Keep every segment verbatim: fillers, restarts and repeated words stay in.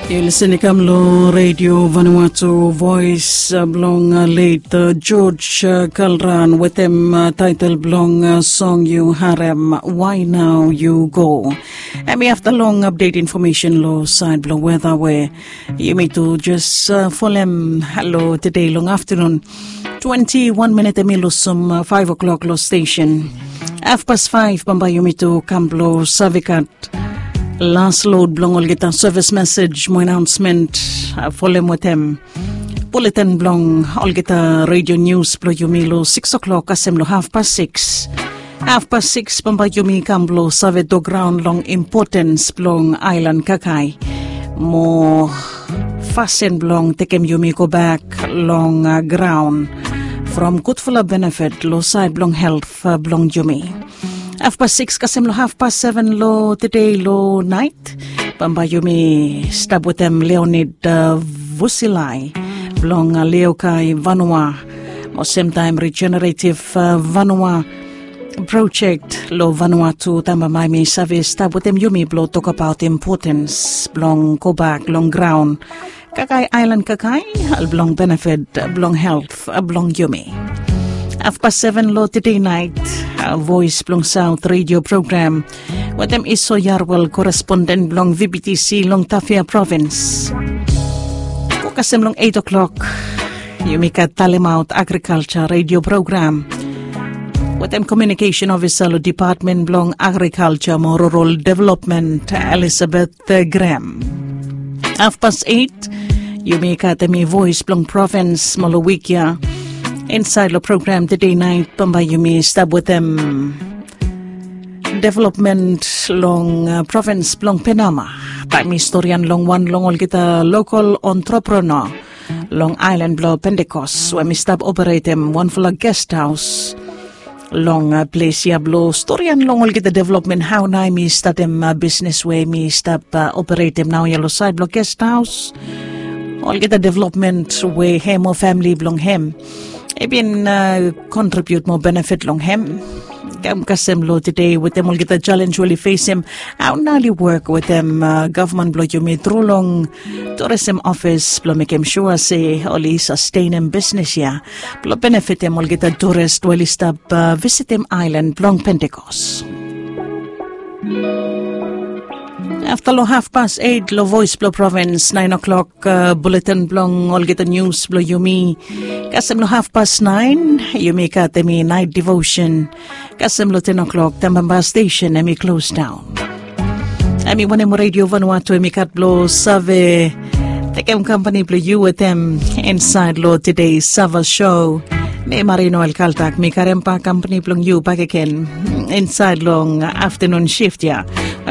Yu lisin i kam long redio Vanuatu, voes blong let George Kalran wetem taetel blong song yu harem, Why Now You Go. Em i afta long apdet infomesen long saed blong weta we yumi tu jes folem long tede long aftanun. Twenti wan minit em i lusum faef o'klok long stesen. Hafpas faef bambae yumi tu kam blong save gat las lod blong olgeta sevis mesej mo anaonsmen, folem wetem buletin blong olgeta redio nius blong yumi long siks o'klok kasem long hafpas siks. Hafpas siks bambae yumi kam blong save tok raon long impotens blong aelan kakae mo fasin blong tekem yumi gobak long graon from gudfala benefit long saed blong helt blong yumi. Hafpas siks kasem long hafpas seven long tede long naet bambae yumi stap wetem Leonid Vusilai blong Leokai Vanua mo semtaem Regenerative Vanua projek long Vanuatu taem bambae mi save stap wetem yumi blong tokbaot impotens blong gobak long graon kakae, aelan kakae, blong benefit blong helt blong yumi. Hafpas seven long tede naet, Voes blong Saot redio program wetem Iso Yarwel, koresponden blong V B T C long Tafea provins. Go kasem long et o'klok yumi gat talemaot agrikalja redio program wetem komiunikesen ofisa long Depatmen blong Agrikalja mo Rural Developmen, Elisabet Grem. Hafpas et yumi gat em i voes blong provins mo long wik ya. Insaed long program tede naet bambae yumi stap wetem developmen long provins blong Penama. Taem mi storian long wan long olgeta lokol entrepreneur long aelan blong Pentekos we mi stap operetem wanfala gesthaos long ples ya blong storian long olgeta developmen, hao nao em i statem bisnes we mi stap operetem naoia long saed blong gesthaos. Olgeta developmen we hem o famili blong hem i bin kontribiut mo benefit long hem. Kam kasem long tede wetem olgeta jalenj we oli fesem, hao nao oli wok wetem gavman blong yumi tru long turism ofis blong mekem sua se oli sastenem bisnes ya blong benefitem olgeta turis we oli stap visitem aelan blong Pentekos. Afta long hafpas et long Voes blong Provins, naen o'klok buletin blong olgeta nius blong yumi. Kasem long hafpas naen yumi gat em i naet devosen. Kasem long ten o'klok taem bambae stesen em i klos daon. Em i wanem redio Vanuatu em i gat blong save tekem kampani blong yu wetem insaed long tede Sava Show. Mi Marino El Kaltak, mi karem bak kampani blong yu bakegen insaed long aftanun sif ya.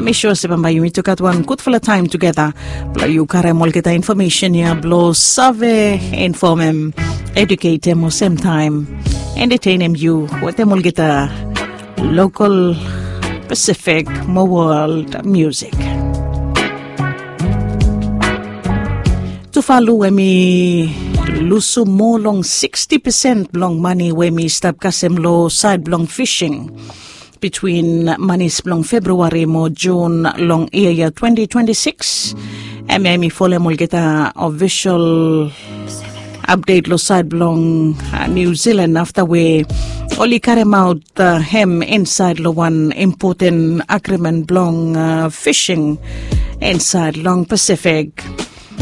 Mi sua se bambae yumi tu gat wan gudfala taem tugeta blong yu karem olgeta infomesen ya blong save infomem, eduketem o semtaem entetenem yu wetem olgeta lokol, Pasifik mo wol musik. Tuvalu em i lusum moa long siksti pesen blong mane we em i stap kasem long saed blong fising bitwin manis blong Februari mo Jun long yia ya twenti twenti sikis. Hemia em i folem olgeta ofisol apdet long saed blong Niu Silan afta we oli karemaot hem insaed long wan impoten agrimen blong fising insaed long Pasifik.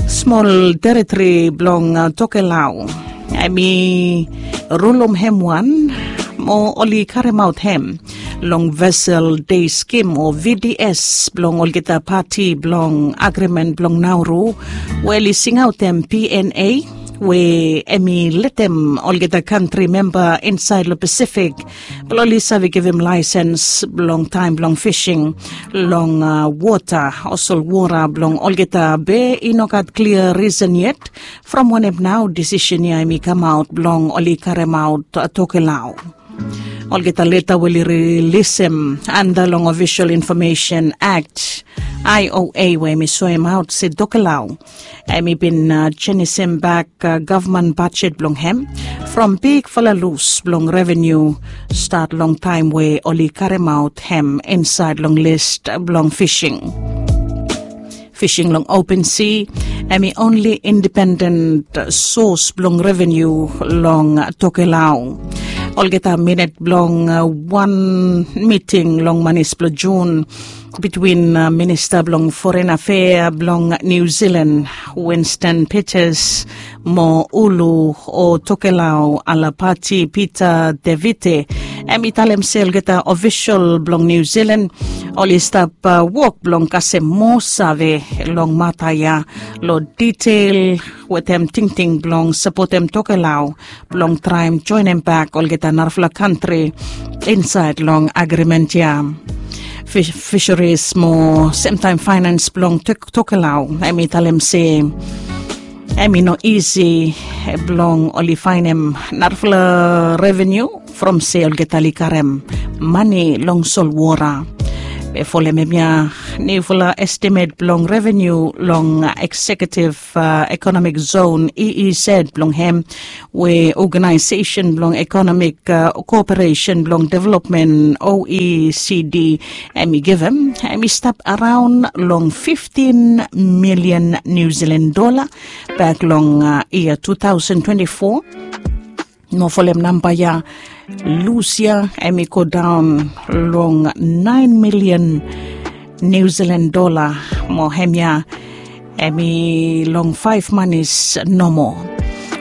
Smol teritori blong Tokelau, hemi rulum hem wan mo oli karemaot hem long vesel dei skim o V D S blong olgeta pati blong agrimen blong Nauru, we oli singaotem P N A, we hemi letem olgeta kantri memba insaed long Pasifik blong oli save givim laesens blong taem blong fising long wota o solwota blong olgeta be i no gat klia risen yet from wanem nao disisen ya hemi kamaot blong oli karemaot Tokelau. Olgeta leta we oli rilisim anda long Ofisol Infomesen Akt, I O A, we hemi soemaot se Tokelau hemi bin jenisim bak gavman bajet blong hem from bigfala lus blong reveniu stat long taem we oli karemaot hem insaed long lis blong fising. Fising long open si Em i onli indipenden sos blong revenu long Tokelau. Olgeta minit blong wan miting long manis blong Jun bitwin minista blong foren afea blong Niu Zilan, Winston Peters, mo Ulu o Tokelau Alapati Peter Devite, em i talem se olgeta ofisol blong Niu Zilan oli stap wok blong kasem moa save long mata ya, long ditel wetem tingting blong sapotem Tokelau blong traem joenem bak olgeta narafala kantri insaed long agrimen ya. Fish- fisheries mo semtaem faenans blong Tokelau, em i talem se em i no isi blong oli faenem narafala revenu from se olgeta oli karem mane long solwota. Be folem hemia niufala estimet blong revenu long Executive Economic Zone, E E Z, blong hem we Oganaesesen blong Ekonomik Koperesen blong Developmen, O E C D, em i givim, em i stap araon long fiftin milian Niu Zilan dola bak long yia tu taosen twenti fo. Mo folem namba ya, lus ya em i godaon long naen milian Niu Zilan dola. Mo hemia em i long faef manis nomo.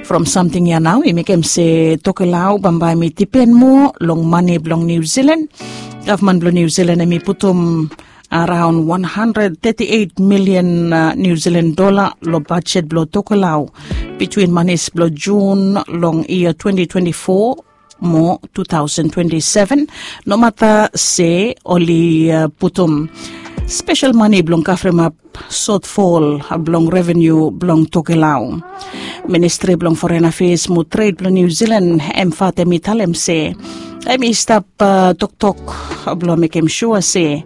From samting ya nao i mekem se Tokelau bambae em i dipen moa long mane blong Niu Zilan. Gavman blong Niu Zilan em i putum araon wan handred teti eit milian Niu Zilan dola long bajet blong Tokelau bitwin manis blong Jun long yia twenti twenti fo mo tu taosen twenti seven, nomata se oli putum spesel mane blong kavremap sotfol blong revenu blong Tokelau. Ministri blong Foren Afeas mo Tred blong Niu Zilan, em fatem i talem se em i stap toktok blong mekem sua se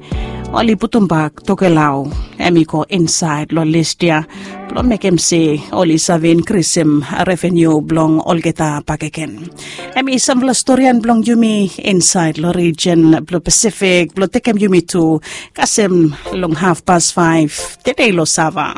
oli putumbak Tokelau em i go insaed long lis ya blong mekem se oli save inkrisim revenu blong olgeta bakegen. Em i samfala storian blong yumi insaed long rijen blong Pasifik blong tekem yumi tu kasem long hafpas faef tede long sava.